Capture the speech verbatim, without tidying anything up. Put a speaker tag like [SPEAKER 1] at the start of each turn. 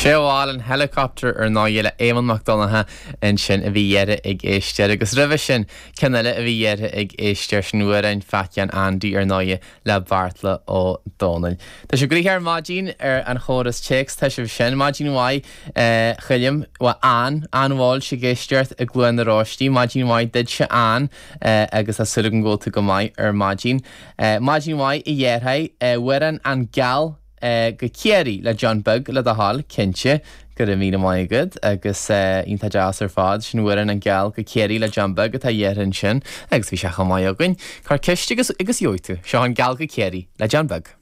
[SPEAKER 1] Seó álainn Helicopter ar ndóigh le Éamonn Mac Donncha ansin a bhí iarrtha ag éisteoir agus roimhe sin ceann eile a bhí iarrtha ag éisteoir sin amhrán Phaidí an Andy ar ndóigh le Beartla Ó Domhnaill. Tá sé gnoitheach ar maidin ar an chóras téacs tá sibh sin maidin mhaith Choilm an an bhfuil sí ag éisteacht i gCluain na Róistí, maidin mhaith duitse an agus tá súil agam go bhfuil tú go maith ar maidin. Maidin mhaith i dhéarthaigh amhrán An Geal go Ciarraí le John Beag le do thoil cinnte go raibh míle maith agat agus iontach deas ar fad sin amhrán An Geal go Ciarraí le John Beag atá iarrtha ansin agus bhí sé chomh maith againn. Cuir ceist agus agus gheobhaidh tú seo An Geal go Ciarraí le John Beag.